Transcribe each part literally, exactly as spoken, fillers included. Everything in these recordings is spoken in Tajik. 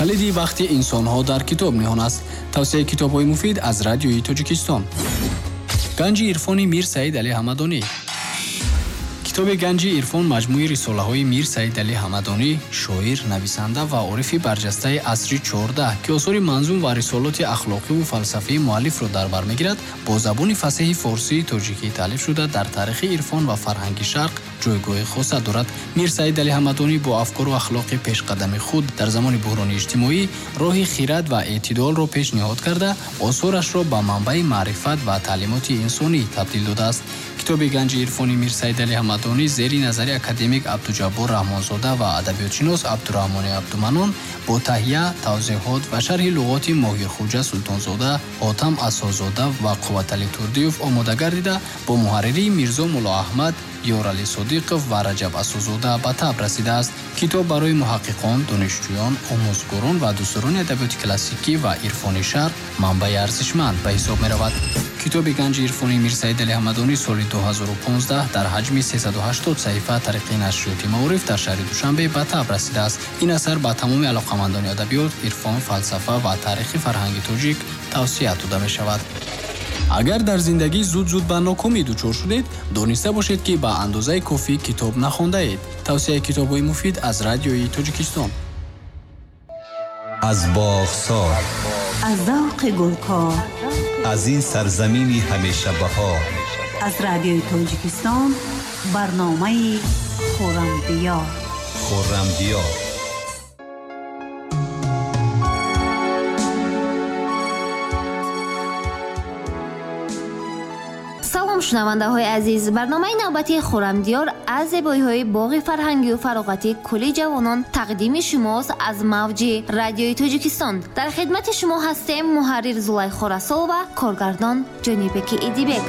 Калиди бахти инсонҳо дар китоб ниҳон аст. Тавсияи китобҳои муфид аз радиои Тоҷикистон. Ганҷи ирфони Мир Саид Али Ҳамадонӣ. Китоби Ганҷи ирфон маҷмӯи рисолаҳои Мир Саид Али Ҳамадонӣ, шоир, нависанда ва орифи барҷастаи асри чордаҳ, ки осори манзум ва рисолоти ахлоқиву фалсафии муаллифро дар бар мегирад, бо забони фасеҳи форсии тоҷикӣ таълиф шуда, дар таърихи ирфон ва фарҳанги шарқ ҷойгоҳи хоса дорад. Мир Саид Али Ҳамадонӣ бо афкору ахлоқи пешқадами худ дар замони буҳрони иҷтимоӣ роҳи хирад ва эътидолро пешниҳод карда, осорашро ба манбаи маърифат ва таълимоти инсонӣ табдил додааст. Китоби Ганҷи ирфони Мир Саид Али Ҳамадонӣ зери назари академик Абдуҷаббор Раҳмонзода ва адабиётшинос Абдураҳмони Абдуманон бо таҳия, тавзеҳот ва шарҳи луғоти Моҳирхуҷа Султонзода, Ҳотам Асозода ва Қувватали Турдиев омода гардида, бо муҳарририи Мирзо Муллоаҳмад, Ёрали Содиқов ва Раҷаб Асозода ба таб расидааст. Китоб барои муҳаққиқон, донишҷӯён, омӯзгорон ва дӯстдорони адабиёти классикӣ ва ирфони шарқ манбаи арзишманд ба ҳисоб меравад. Китоби Ганҷи ирфони Мир Саид Али Ҳамадонӣ соли ду ҳазору понздаҳ дар ҳаҷми сесаду ҳаштод саҳифа тариқи нашриёти Маориф дар шаҳри Душанбе ба таб расидааст. Ин асар ба тамоми алоқамандони адабиёт, ирфон, фалсафа ва таърихи фарҳанги тоҷик тавсия дода мешавад. Агар дар зиндагӣ зуд-зуд ба нокомӣ дучор шудед, дониста бошед, ки ба андозаи кофӣ китоб нахондаед. Тавсияи китобҳои муфид аз радиои Тоҷикистон. Аз боғсор, аз завқи гулкор, аз ин сарзамини ҳамешабаҳор, аз радиои Тоҷикистон барномаи Хуррамдиёр. Хуррамдиёр. Салом шунавандаҳои азиз, барномаи навбатии Хуррамдиёр аз зебоиҳои боғи фарҳангию фароғатии кулли ҷавонон тақдими шумост аз мавҷи радиои Тоҷикистон. Дар хидмати шумо ҳастем муҳаррир Зулайхо Расулова, коргардон Ҷонибеки Идибек.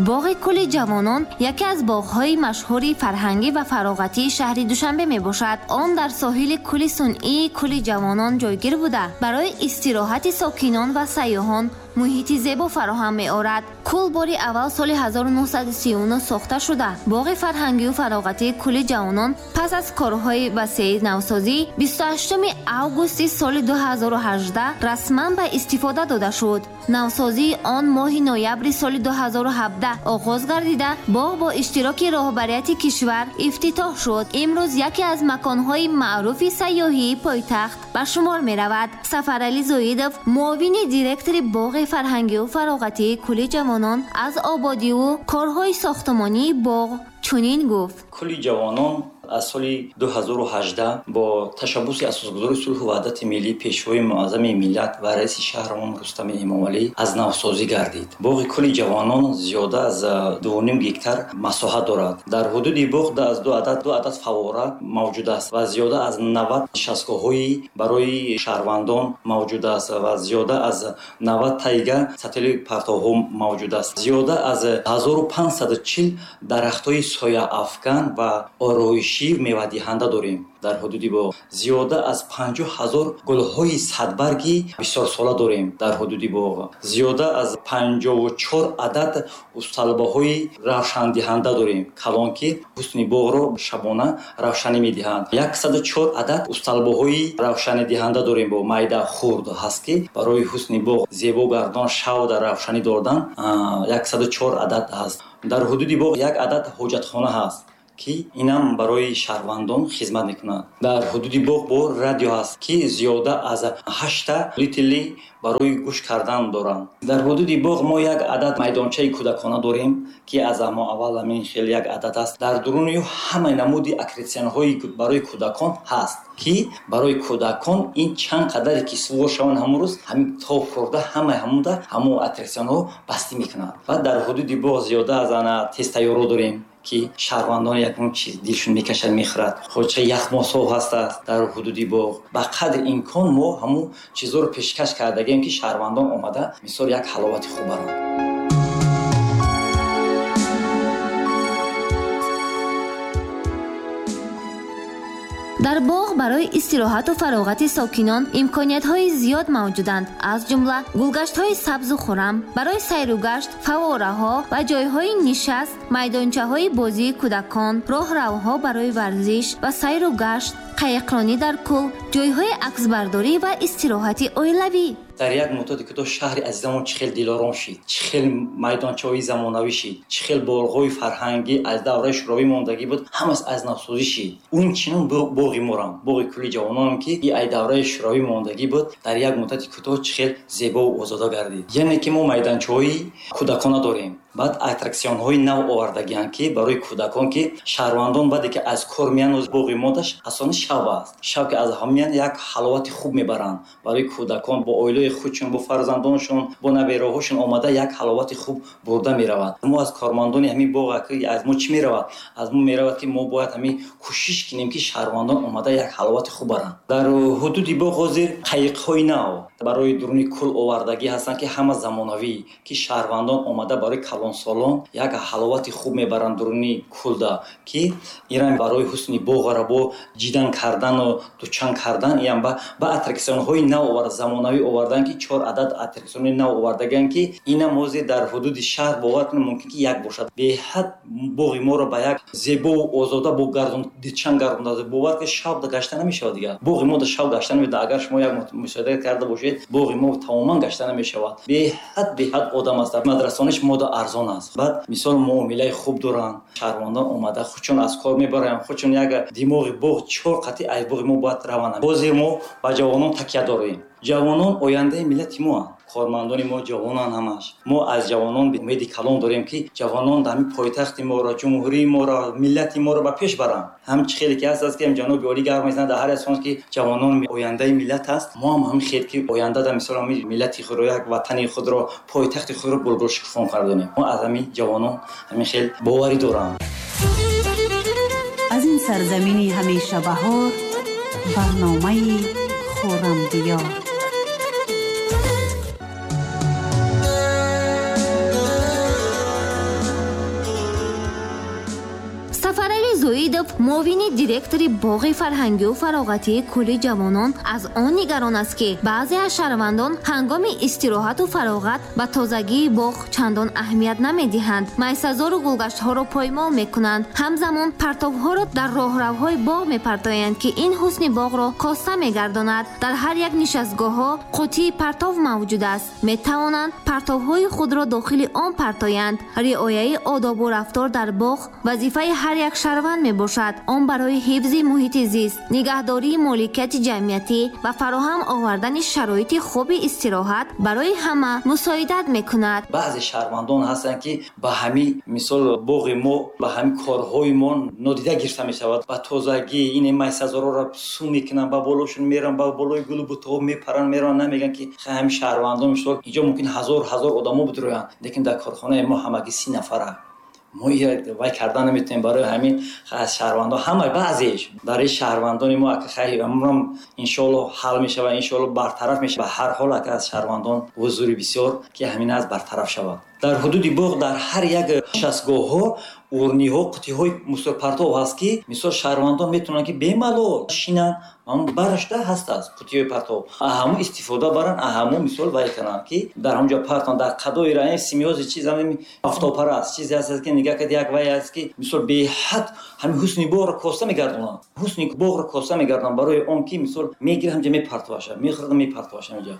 Боғи кулли ҷавонон яке аз боғҳои машҳури фарҳангӣ ва фароғатии шаҳри Душанбе мебошад. Он дар соҳили кӯли сунъии кулли ҷавонон ҷойгир буда, барои истироҳати сокинон ва сайёҳон муҳити зебо фароҳам меорад. Кӯл бори аввал соли ҳазору нӯҳсаду сию нӯҳ сохта шуда, боғи фарҳангию фароғатии кулли ҷавонон пас аз корҳои васеи навсозӣ бисту ҳаштуми августи соли ду ҳазору ҳаждаҳ расман ба истифода дода шуд. Навсозии он моҳи ноябри соли ду ҳазору ҳабдаҳ оғоз гардида, боғ бо иштироки роҳбарияти кишвар ифтитоҳ шуд. Имрӯз яке аз маконҳои маъруфи сайёҳии пойтахт ба шумор меравад. Сафарали Зоидов, муовини директори боғи фарҳангию фароғатии кулли ҷавонон, аз ободиву корҳои сохтмонии боғ чунин гуфт: Кулли ҷавонон аз соли ду ҳазору ҳаждаҳ бо ташаббуси асосгузори сулҳу ваҳдати миллӣ, пешвои муаззами миллат ва раиси шаҳрамон Рустами Эмомалӣ аз навсозӣ гардид. Боғи кулли ҷавонон зиёда аз дуву ним гектар масоҳат дорад. Дар ҳудуди боғ аз ду адад ду адад фаввора мавҷуд аст ва зиёда аз навад нишастгоҳҳои барои шаҳрвандон мавҷуд аст ва зиёда аз навад тайга сатили партовҳо мавҷуд аст. Зиёда аз ҳазору панҷсаду чил дарахтҳои сояафкан ва ороишӣ мевадиҳанда дорем. Дар ҳудуди боғ зиёда аз панҷоҳ ҳазор гулҳои садбарги бисёрсола дорем. Дар ҳудуди боғ зиёда аз панҷоҳу чор адад усталбаҳои равшандиҳанда дорем, калон, ки ҳусни боғро шабона равшанӣ медиҳанд. Яксаду чор адад усталбаҳои равшанидиҳанда дорем, бо майда хурд ҳаст, ки барои ҳусни боғ зебо гардон, шав дар равшанӣ додан яксаду чор адад ҳаст. Дар ҳудуди боғ як адад ҳоҷатхона ҳаст, ки инам барои шаҳрвандон хизмат мекунад. Дар ҳудуди боғ бо радио ҳаст, ки зиёда аз ҳашта литли барои гӯш кардан доранд. Дар ҳудуди боғ мо як адад майдончаи кӯдакона дорем, ки аз ҳамо аввал ҳамин хел як адад аст. Дар дуруни ӯ ҳамаи намуди аккретсионҳои барои кӯдакон ҳаст, ки барои кӯдакон ин чанд қадаре ки сувор шаванд ҳамон рӯз ҳамин тоб хӯрда ҳамаи ҳамонда ҳамон аттраксионҳо бастӣ мекунанд. Ва дар ҳудуди боғ зиёда аз ана тезтайёрҳо дорем, ки шаҳрвандон ягон чиз дилшон мекашад, мехӯрад. Хоҷа яхмосҳо ҳастанд дар ҳудуди боғ. Ба қадри имкон мо ҳамон чизҳоро пешкаш кардагем, ки шаҳрвандон омада мисол як ҳаловати хуб баранд. Дар боғ барои истироҳату фароғати сокинон имкониятҳои зиёд мавҷуданд, аз ҷумла гулгаштҳои сабзу хуррам, барои сайругашт, фаввораҳо ва ҷойҳои нишаст, майдончаҳои бозии кӯдакон, роҳравҳо барои варзиш ва сайругашт, қайиқронӣ дар кӯл, ҷойҳои аксбардорӣ ва истироҳати оилавӣ. Дар як муддати кӯтоҳ шаҳри азизамон чӣ хел дилором шид, чӣ хел майдончаҳои замонавӣ шид, чӣ хел боғҳои фарҳангӣ аз давраи шӯравӣ мондагӣ буд, ҳамаш аз навсозӣ шид. Он чинон боғи морам, боғи кӯли ҷавононам, ки и аз давраи шӯравӣ мондагӣ буд, дар як муддати кӯтоҳ чӣ хел зебову озода гардид. Яъне ки мо майдончаҳои кӯдакона дорем, баъд аттраксионҳои нав овардагианд, ки барои кӯдакон, ки шаҳрвандон баъде ки аз кор меянд, боғи модаш асосан шаб аст. Шаб ки аз ҳам меянд, як ҳаловати хуб мебаранд барои кӯдакон, бо оилаи худшон, бо фарзандоншон, бо набераҳошон омада як ҳаловати хуб бурда меравад. Мо аз кормандони ҳамин боғ аз мо чӣ меравад? Аз мо меравад, ки мо бояд ҳамин кӯшиш кунем, ки шаҳрвандон омада як ҳаловати хуб баранд. Дар ҳудуди боғ ҳозир қайиқҳои нав барои дуруни кӯл овардагӣ ҳастанд, ки ҳама замонавӣ, ки шаҳрвандон омада барои калонсолон як ҳаловати хуб мебаранд дуруни кӯлда, ки ирам барои ҳусни боғро бо ҷидан кардану дучан кардан, иам ба аттраксионҳои нав оварда, замонавӣ овардан, ки чор адад аттраксиони нав овардагианд, ки инам ҳозир дар ҳудуди шаҳр бовар кунед мумкин ки як бошад. Беҳад боғи моро ба як зебову озода бо гардон дучан гардонда, бовар кунед шаб гашта намешавад дигар. Боғи мо шаб гашта намешавад. Агар шумо як мушоҳида карда бошед, боғи мо тамоман гашта намешавад. Беҳад беҳад одам аст. Мадрасониш мода арзон аст. Баъд мисол муомилаи хуб доранд. Шаҳрвандон омада худшон аз кор мебаранд, худшон як димоғи боғ чор қатъи аз боғи мо бояд раванд. Бозе мо ба ҷавонон такя дорем. Ҷавонон ояндаи миллати моанд. Кормандони мо ҷавонанд ҳамаш. Мо аз ҷавонон умеди калон дорем, ки ҷавонон дар ҳамин пойтахти моро, ҷумҳурии моро, миллати моро ба пеш баранд. Ҳам чӣ хеле ки ҳаст аст, ки ҳам ҷаноби олӣ гап мезанад дар ҳар як сон, ки ҷавонон ояндаи миллат аст. Мо ҳам ҳамин хел, ки оянда дар мисол ҳамин миллати худро, як ватани худро, пойтахти худро булбул шукуфон кардонем. Мо аз ҳамин ҷавонон ҳамин хел боварӣ дорам. Аз ин сарзамини ҳамеша баҳор барномаи Хуррамдиёр. Зоидов, муовини директори боғи фарҳангию фароғатии кӯли ҷавонон, аз он нигарон аст, ки баъзе аз шаҳрвандон ҳангоми истироҳату фароғат ба тозагии боғ чандон аҳамият намедиҳанд, майсазору гулгаштҳоро поймол мекунанд, ҳамзамон партовҳоро дар роҳравҳои боғ мепартоянд, ки ин ҳусни боғро коста мегардонад. Дар ҳар як нишастгоҳҳо қутии партов мавҷуд аст, метавонанд партовҳои худро дохили он партоянд. Риояи одобу рафтор дар боғ вазифаи ҳар як шаҳрванд мебошад. Он барои ҳифзи муҳити зист, нигаҳдории моликияти ҷамъиятӣ ва фароҳам овардани шароити хуби истироҳат барои ҳама мусоидат мекунад. Баъзе шаҳрвандон ҳастанд, ки ба ҳамин мисол боғи мо, ба ҳамин корҳои мо нодида гирифта мешавад. Ба тозагӣ ин майсазорҳоро су мекунанд, ба болошон мераванд, ба болои гулу бутаҳо мепаранд, мераванд, намегӯянд, ки ҳамин шаҳрвандон мисол инҷо мумкин ҳазор ҳазор одамо бидроянд, лекин дар корхонаи мо ҳамагӣ си нафара. Мо вай кардан наметавонем. Барои ҳамин аз шаҳрвандон ҳама баъзеш барои шаҳрвандони мо амрам иншоалло ҳал мешавад, иншоалло бартараф мешавад. Ба ҳар ҳол ака аз шаҳрвандон ҳузури бисёр, ки ҳамин аз бартараф шавад. Дар ҳудуди боғ дар ҳар як нишастгоҳҳо урниҳо, қутиҳои мусорпартов ҳаст, ки мисол шаҳрвандон метавонанд, ки бемалол шинанд, ҳамон барашда ҳаст аст қутиҳои партов, ҳамон истифода баранд, ҳамон мисол вай кунанд, ки дар ҳамон ҷо партон. Дар қадои раи симиёзи чиз ҳамин офтобпараст, чизе ҳаст, ки нигаҳ кард, як вай аст, ки мисол беҳад ҳамин ҳусни боғро коста мегардонанд, ҳусни боғро коста мегардонанд, барои он ки мисол мегирад ҳамҷа мепартоваша, мехӯрад мепартоваша ҳамҷа.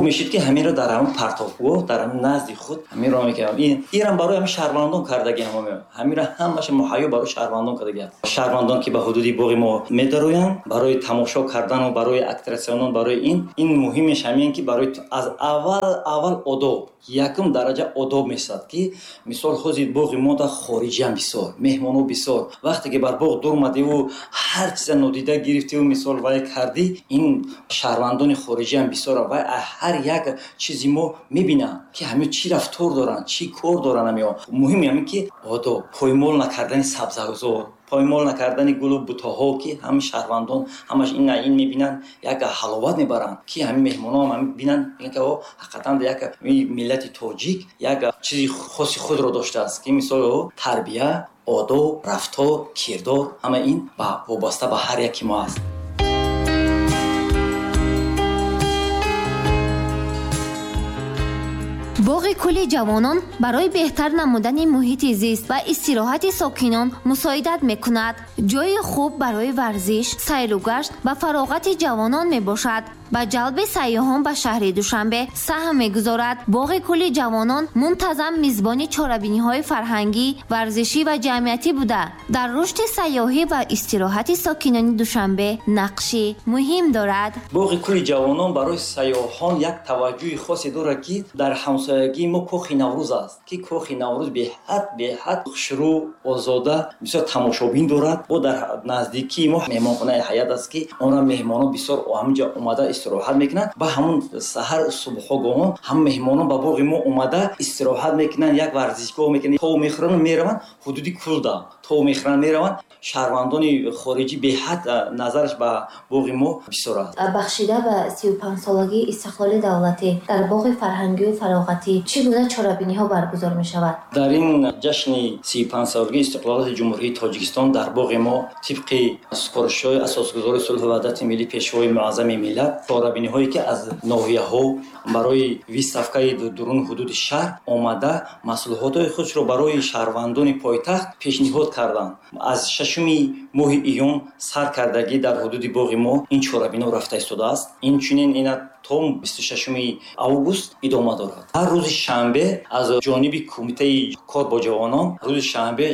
Мешид, ки ҳаминро дар ҳамон партовгоҳ, дар ҳамин назди худ ҳаминро мекардам. Ин ирам барои ҳамин шаҳрвандон кардаги, ҳамон ҳаминро ҳамаша муҳайё барои шаҳрвандон кардаги. Шаҳрвандон, ки ба ҳудуди боғи мо медароянд барои тамошо кардану барои аттраксионон, барои ин ин муҳимеш ҳамин, ки барои аз аввал аввал одоб, якум дараҷа одоб мешавад, ки мисол ҳозир боғи мо дар хориҷиам бисёр, меҳмоно бисёр. Вақте ки бар боғ дур омадиву ҳар чиза нодида гирифтиву мисол вай кардӣ, ин шаҳрвандони хориҷиам бисёр вай ҳар як чизи мо мебинанд, ки ҳамин чӣ рафтор доранд, чӣ кор доранд. Ҳамиҳо муҳим ҳамин, ки одоб, поймол накардани сабзазор, поймол накардани гулу бутаҳо, ки ҳамин шаҳрвандон ҳамаш ин ин мебинанд, як ҳаловат мебаранд, ки ҳамин меҳмонон ҳам бинанд, мегӯянд, ки о ҳақиқатан як миллати тоҷик як чизи хоси худро доштааст, ки мисол тарбия, одоб, рафтор, кирдор, ҳама ин вобаста ба ҳар яки мо аст. Боғи кӯли ҷавонон барои беҳтар намудани муҳити зист ва истироҳати сокинон мусоидат мекунад. Ҷойи хуб барои варзиш, сайру гашт ва фароғати ҷавонон мебошад. Ба ҷалби сайёҳон ба шаҳри Душанбе саҳм мегузорад. Боғи кӯли ҷавонон мунтазам мизбони чорабиниҳои фарҳангӣ, варзишӣ ва ҷамъиятӣ буда, дар рушди сайёҳӣ ва истироҳати сокинони Душанбе нақши муҳим дорад. Боғи кӯли ҷавонон барои сайёҳон як таваҷҷӯҳи хосе дорад, ки дар ҳамсоягии мо Кохи Наврӯз аст, ки Кохи Наврӯз беҳад беҳад хушрӯ, озода, бисёр тамошобин дорад. Бо дар наздикии мо меҳмонхонаи Ҳаят аст, ки онро меҳмонон бисёр ҳаминҷо омада истироҳат мекунанд ва ҳамун саҳар субҳогоҳон ҳам меҳмонон ба боғи мо омада истироҳат мекунанд, як варзишгоҳ мекунанд, тов мехӯранд, мераванд ҳудуди Кулда, тов мехӯранд, мераванд. Шаҳрвандони хориҷӣ беҳад назараш ба боғи мо бисёр аст. Бахшида ба сию панҷсолагии истиқлоли давлатӣ дар боғи фарҳангию фароғатӣ чӣ гуна чорабиниҳо баргузор мешавад? Дар ин ҷашни сию панҷсолагии истиқлолияти Ҷумҳурии Тоҷикистон дар боғи мо тибқи супоришҳои асосгузори сулҳу ваҳдати миллӣ, пешвои муаззами миллат, чорабиниҳое ки аз ноҳияҳо барои выставкаи дурун ҳудуди шаҳр омада маҳсулотҳои худро барои шаҳрвандони пойтахт пешниҳод карданд. Аз шашуми моҳи июн сар кардагӣ дар ҳудуди боғи мо ин чорабино рафта истодааст. Инчунин ина то бисту шашуми август идома дорад. Ҳар рӯзи шанбе аз ҷониби кумитаи кор бо ҷавонон рӯзи шанбе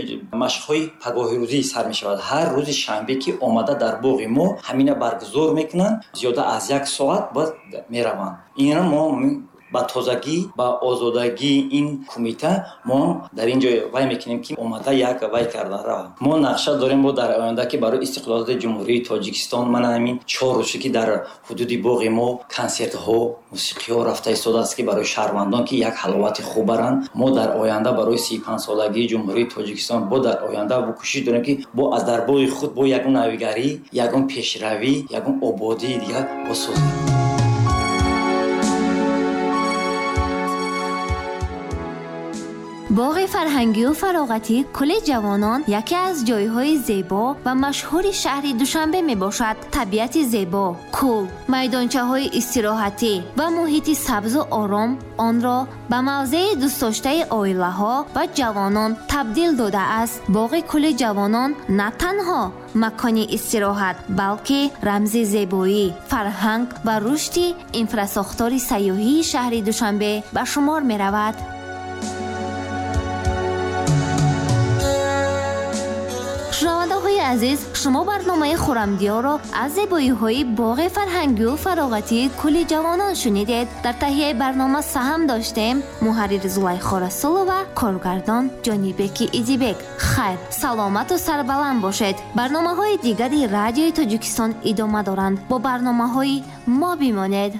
машқҳои пагоҳирӯзӣ сар мешавад. Ҳар рӯзи шанбе ки омада дар боғи мо ҳамина баргузор мекунанд, зиёда аз як соат боз мераванд. Инро мо ба тозагӣ, ба озодагии ин кумита мо дар ин ҷо вай мекунем, ки омада як вай карда равад. Мо нақша дорем бо дар оянда, ки барои истиқлолияти Ҷумҳурии Тоҷикистон ман ҳамин чор рӯзе ки дар ҳудуди боғи мо консертҳо, мусиқиҳо рафта истодааст, ки барои шаҳрвандон ки як ҳаловати хуб баранд. Мо дар оянда барои сию панҷсолагии Ҷумҳурии Тоҷикистон бо дар оянда бо кӯшиш дорем, ки бо аз дар боғи худ бо ягон навигарӣ, ягон пешравӣ, ягон ободии дигар босозем. Боғи фарҳангию фароғатӣ кӯли ҷавонон яке аз ҷойҳои зебо ва машҳури шаҳри Душанбе мебошад. Табиати зебо, кӯл, майдончаҳои истироҳатӣ ва муҳити сабзу ором онро ба мавзеи дӯстдоштаи оилаҳо ва ҷавонон табдил додааст. Боғи кӯли ҷавонон на танҳо макони истироҳат, балки рамзи зебоӣ, фарҳанг ва рушди инфрасохтори сайёҳии шаҳри Душанбе ба шумор меравад. Шунавандаҳои азиз, шумо барномаи Хуррамдиёрро аз зебоиҳои боғи фарҳангию фароғатии кӯли ҷавонон шунидед. Дар таҳияи барнома саҳм доштем муҳаррир Зулайхо Расулова, коргардон Ҷонибеки Идибек. Хайр, саломату сарбаланд бошед. Барномаҳои дигари Радиои Тоҷикистон идома доранд. Бо барномаҳои мо бимонед.